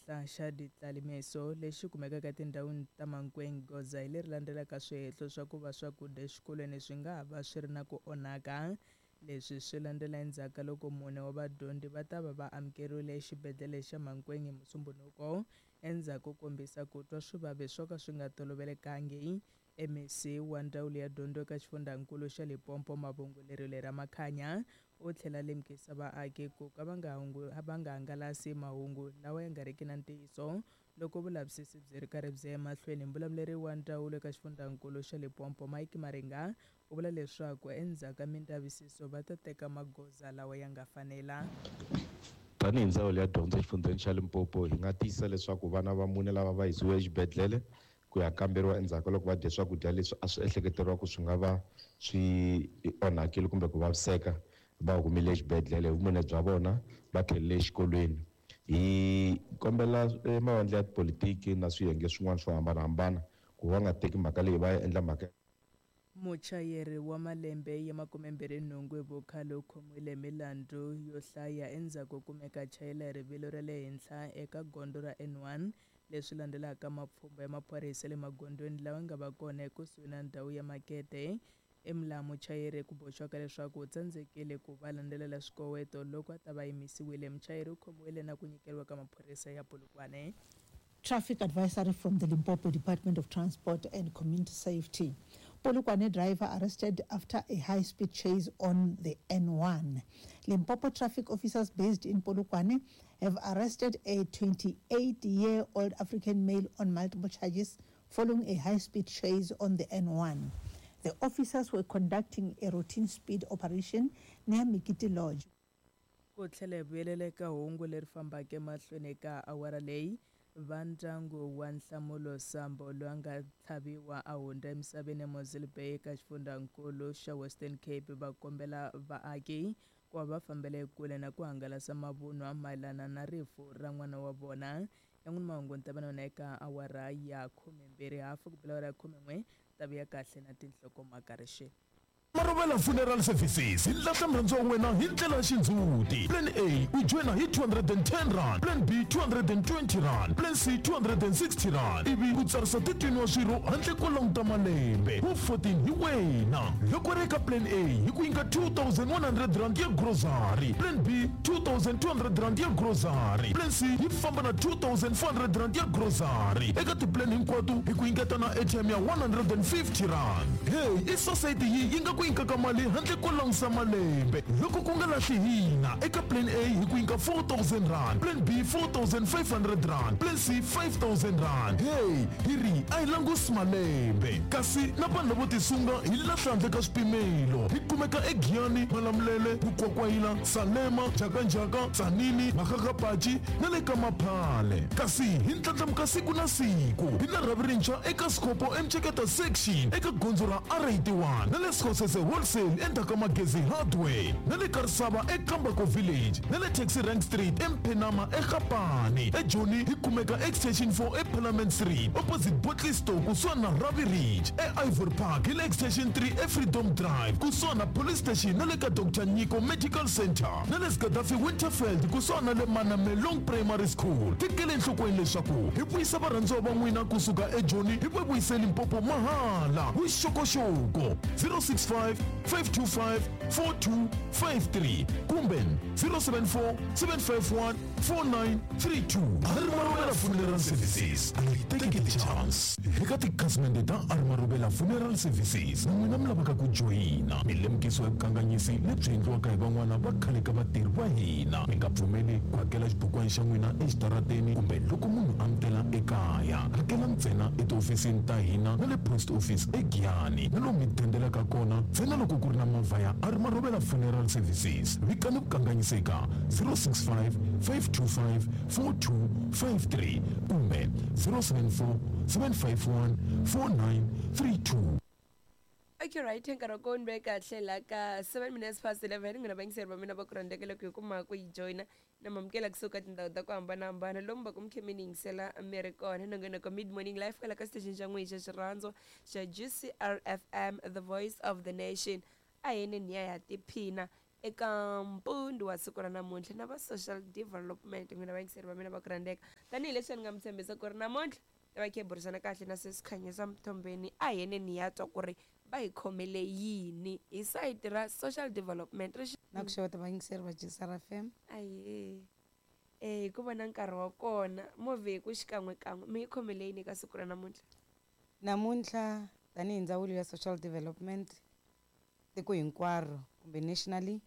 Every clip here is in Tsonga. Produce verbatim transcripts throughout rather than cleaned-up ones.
Xihlola xa Ditlalemeso lexi kumekaka etindhawini ta Mankweng goza hi leri landzelaka swihehlo swa ku va swakudya exikolweni swi nga ha va swi ri na ku onhaka. Leswi swi landzela endzhaku ka loko mune wa vadyondzi va ta va va amukeriwile exibedhlele xa Mankweng hi Musumbhunuko endzhaku ko kombisa ku twa swivavi swo ka swi nga tolovelekangi. M E C wa ndzawulo ya dyondzo eka xifundzankulu xa Limpopo, Mavhungu Lerule Ramakhanya, u tlhela lemukisa vaaki ku ka va nga va nga hangalasi mahungu lawa ya nga riki na ntiyiso loko vulavisisi byi ri karhi byi ya emahlweni. Mbulavuleri wa ndzawulo eka xifundzankulu xa Limpopo, Mike Maringa, u vula leswaku endzhaku ka mindzavisiso va ta teka magoza lawa ya nga fanela. Tanihi ndzawulo ya dyondzo exifundzheni xa Limpopo, hi nga tiyisisa leswaku vana va mune lava va yisiwe exibedhlele ku ya kamberiwa endzhaku ka loko va dye swakudya leswi a swi ehleketeriwa ku swi nga va swi onhakile kumbe ku vaviseka, va humile exibedhlele hi vumune bya vona, va tlhelele exikolweni. Hi kombela mavandla ya tipolitiki na swiyenge swin'wana swo hambanahambana ku va nga teki mhaka leyi va ya endla mhaka. Muchayeri wa malembe ya makumembirhi nhungu hi vukhale u khomiwile milandzu yo hlaya endzhaku ko kumeka chayela hi rivilo ra le henhla eka gondzo ra N one, leswi landzelaka mapfhumba ya maphorisa le magondzweni lawa nga va kona ekusuhi na ndhawu ya makete emlaha. Muchayeri ku boxiwaka leswaku u tsandzekile ku va landzelela swikoweto loko a ta va yimisiwile. Muchayeri u khomiwile na ku nyikeriwa ka maphorisa ya Polokwane. Traffic advisory from the Limpopo Department of Transport and Community Safety. Polokwane driver arrested after a high-speed chase on the N one. Limpopo traffic officers based in Polokwane have arrested a twenty-eight-year-old African male on multiple charges following a high-speed chase on the N one. The officers were conducting a routine speed operation near Mikiti Lodge. Ku tlhela hi vuyelela eka hungu leri fambaka emahlweni ka awara leyi, va ndyangu wa Nhlamulo Sambo loyi a nga tlhaviwa a hundza emisaveni eMossel Bay eka xifundzankulu xa Western Cape va kombela vaaki ku va va fambela ekule na ku hangalasa mavunwa mayelana na rifu ra n'wana wa vona. Yan'wini mahungu ni ta va na yona eka awara ya khumembirhi hafu ku bela awara ya khumen'we. Ta vuya kahle na tinhlokomhaka rixeni. Marobela Funeral Services hi lahla murhandziwa wa wena hi ndlela ya xindzhuti. Plan A u joyina hi two hundred and ten rand, Plan B two hundred and twenty rand, Plan C two hundred and sixty rand, ivi u tsarisa thirteen wa swirho handle ko languta malembe. Wu fourteen hi wena. Loko ri eka Plan A hi ku nyika two thousand one hundred rand ya grocery, Plan B two thousand two hundred rand ya grocery, Plan C yi famba na two thousand four hundred rand ya grocery. Eka tiplan hinkwato hi ku nyiketa na airtime ya one hundred and fifty rand. Hey, i society yi yi nga ku nyikaka mali handle ko langusa malembe. Loko ku nga lahli hina, eka Plan A hi ku nyika four thousand rand, Plan B four thousand five hundred rand, Plan C five thousand rand. Hey, hi ri a hi langusi malembe. Kasi na vanhu lavo tisunga hi lahla handle ka swipimelo. Hi kumeka eGiyani, Malamulele, Mukwakwayila, Salema, Njhakanjhaka, Tzaneen, Makgakgapachi na le ka Maphale. Kasi hi ndlandlamuka siku na siku. Hi na rhavi rintshwa eka Sikopo eMceketa section eka gondzo ra R eighty-one na le Sekgosese Wholesale endzhaku ka Magezi Hardware na le Karisava eKambako Village na le Taxi Rank Street eMphenama eGapane. EJoni hi kumeka Extension four eParliament Street opposite Bottle Store kusuhani na Ravi Ridge. E Ivory Park hi le Extension three eFreedom Drive kusuhani na Police Station na le ka Doctor Nyiko Medical Center na le Gaddafi Winterfeld kusuhani na le Manamelong Primary School. Tekele enhlokweni leswaku hi vuyisa varhandziwa va n'wina kusuka eJoni hi va vuyise Limpopo mahala. Vuxokoxoko zero six five five two five four two five three kumbe zero seven four seven five one four nine three two. Marobela Funeral Services, a yi tekeli chance. Eka tikhasimende ta Marobela Funeral Services, na n'wina mi lavaka ku joyina, milemukiso ya vukanganyisi lebyi endliwaka hi van'wana va khale ka vatirhi va hina. Mi nga pfumeli ku hakela xibukwana xa n'wina exitarateni kumbe loko munhu a mi tela ekaya. Hakela ntsena etihofisini ta hina na le post office eGiyani na lomu mi dendelaka kona ntsena loko ku ri na movha ya Marobela Funeral Services. Vikani vukanganyisi eka zero six five five two five four two five three kumbe zero seven four seven five one four nine three two. Okay, right, nkarhi wa kona ve kahle la ka seven minutes past eleven. N'wina vayingiseri va mina va ku rhandzeka loko hi kuma ku yi joyina na mamukela kusuka tindhawu ta ku hambanahambana lomu va ku mi khe mi ni yingisela mi ri kona nongonoko Mid Morning Life kwala ka station xa n'wina xa xirhandzo xa G C R F M, the voice of the nation. A hi ni ya ya tiphina Eka mpundu wa siku ra namuntlha na va social development n'wina vayingiseri va mina va ku rhandzeka tanihileswi ni nga mi tshembisa ku ri namuntlha ta va khe hi burisana kahle na sesi Khanyisa Mthombeni a hi yeneni hi ya twa ku ri va hi khomele yini hi sayiti ra social development ri Na ku xeweta vayingiseri va J S R F M. Ahee. Eh hi ku vona nkarhi wa kona movha hi ku xikan'wekan'we mi yi khomele yini eka siku ra namuntlha? Namuntlha tanihi ndzawulo ya social development tiko hinkwaro kumbe nationally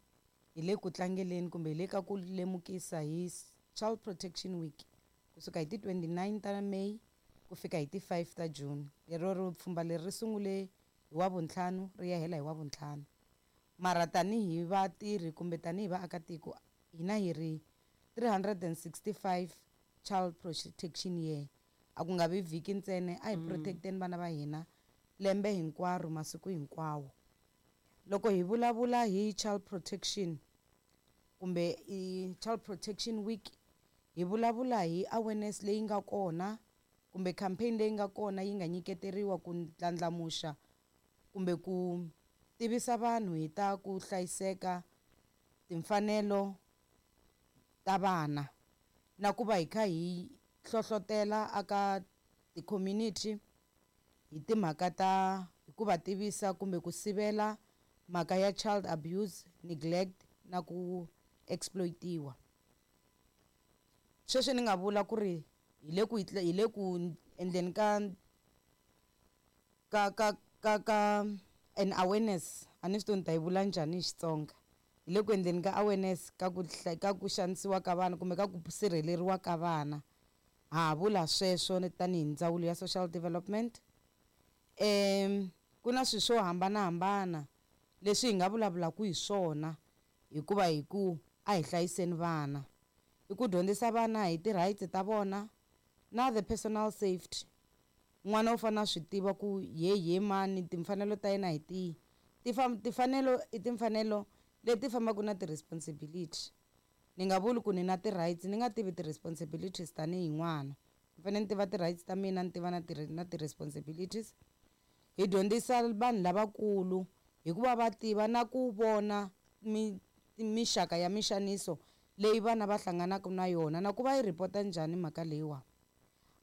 hi le ku tlangeleni kumbe hi le ka ku lemukisa hi Child Protection Week kusuka hi ti twenty-nine ta May ku fika hi ti five ta June. Lero ri pfhumba leri ri sungule hi wa vuntlhanu ri ya hela hi wa vuntlhanu. Mara tanihi vatirhi kumbe tanihi vaakatiko hina hi ri three hundred and sixty-five Child Protection Year. A ku nga vi vhiki ntsena, a hi Mm. protecteni vana va hina lembe hinkwaro masiku hinkwawo. Loko hi vulavula hi Child Protection kumbe i Child Protection Week hi vulavula hi awareness leyi nga kona kumbe campaign leyi nga kona yi nga nyiketeriwa ku ndlandlamuxa kumbe ku tivisa vanhu hi ta ku hlayiseka timfanelo ta vana na ku va hi kha hi hlohlotela aka ti-community hi timhaka ta hi ku va tivisa kumbe ku sivela mhaka ya child abuse, neglect na ku exploitiwa. Sweswi ni nga vula ku ri hi le ku hi le ku endleni ka ka ka ka ka an awareness, a ni swi tivi ni ta yi vula njhani hi Xitsonga. Hi le ku endleni ka awareness ka ku ka ku xanisiwa ka vana kumbe ka ku sirheleriwa ka vana. Ha vula sweswo tanihi ndzawulo ya social development. Em ku na swilo swo hambanahambana leswi hi nga vulavulaka hi swona hikuva hi ku a hi hlayiseni vana. I ku dyondzisa vana hi ti-rights ta vona na the personal safety. N'wana u fanele a swi tiva ku ye ye mani timfanelo ta yena hi tihi. Timfanelo i timfanelo leti fambaka na ti-responsibility. Ni nga vuli ku ni na ti-rights ni nga tivi ti-responsibilities tanihi n'wana. Ni fanele ni tiva ti-rights ta mina ni tiva na na ti-responsibilities. Hi dyondzisa vanhu lavakulu hikuva va tiva na ku vona mixaka ya mixaniso leyi vana va hlanganaka na yona na ku va yi report-a njhani mhaka leyiwa.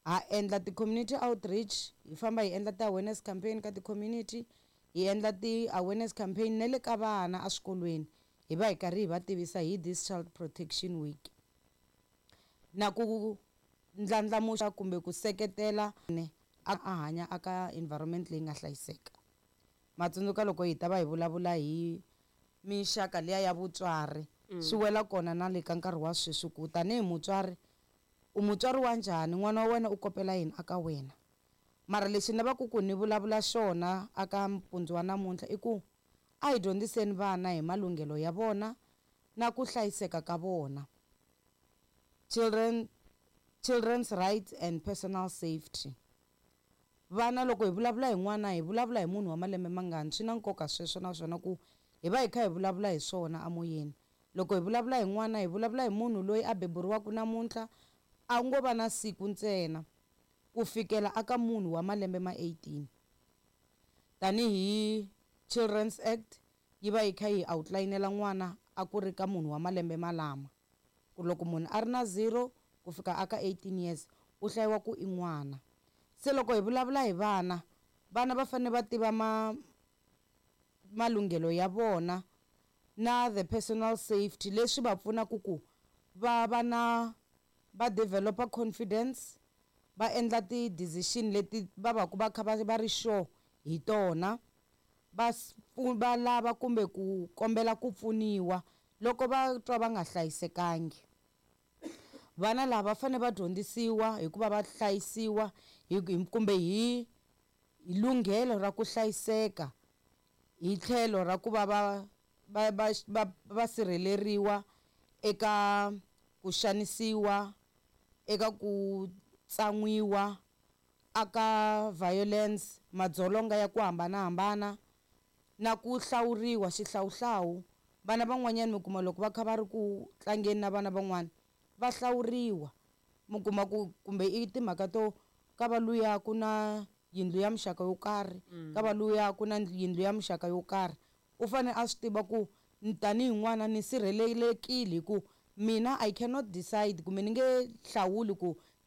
Ha endla ti-community outreach, hi famba hi endla ti-awareness campaign ka ti-community, hi endla ti-awareness campaign na le ka vana eswikolweni hi va hi karhi hi va tivisa hi this Child Protection Week. Na ku ndlandlamuxa kumbe ku seketela a hanya aka environment leyi nga hlayiseka. Matsundzuka loko hi ta va hi vulavula hi mixaka liya ya vutswari swi wela kona na le ka nkarhi wa sweswi ku tanihi mutswari u mutswari wa njhani n'wana wa wena u kopela yini aka wena. Mara lexi ni lavaka ku ni vulavula xona aka mpundzu wa namuntlha i ku a hi dyondziseni vana hi malunghelo ya vona na ku hlayiseka ka vona. Children, children's rights and personal safety. Vana loko hi vulavula hi n'wana hi vulavula hi munhu wa malembe mangani swi na nkoka sweswo naswona ku hi va hi kha hi vulavula hi swona amoyeni. Loko hi vulavula hi n'wana hi vulavula hi munhu loyi a beburiwaka namuntlha a ngo va na siku ntsena ku fikela aka munhu wa malembe ma eighteen. Tanihi Children's Act yi va yi kha yi outline-ela n'wana a ku ri ka munhu wa malembe malama. Ku loko munhu a ri na zero ku fika aka eighteen years u hlayiwa ku i n'wana. Se loko hi vulavula hi vana, vana va fanele va tiva ma malunghelo ya vona na the personal safety leswi va pfunaka ku va va na va developa confidence, va endla ti-decision leti va va ku va kha va va ri sure hi tona, va va lava kumbe ku kombela ku pfuniwa loko va twa va nga hlayisekangi. Vana lava va fanele va dyondzisiwa hikuva va hlayisiwa hi kumbe hi lunghelo ra ku hlayiseka hi tlhelo ra ku va va va va va sirheleriwa eka ku xanisiwa, eka ku tsan'wiwa, aka violence, madzolonga ya ku hambanahambana na ku hlawuriwa xihlawuhlawu. Vana van'wanyana mi kuma loko va kha va ri ku tlangeni na vana van'wana va hlawuriwa, mi kuma ku kumbe i timhaka to ka va luya ku na yindlu ya muxaka yo karhi, ka va luya ku na yindlu ya muxaka yo karhi. U fanele a swi tiva ku tanihi n'wana ni sirhelelekile hi ku mina I cannot decide kumbe ni nge hlawuli ku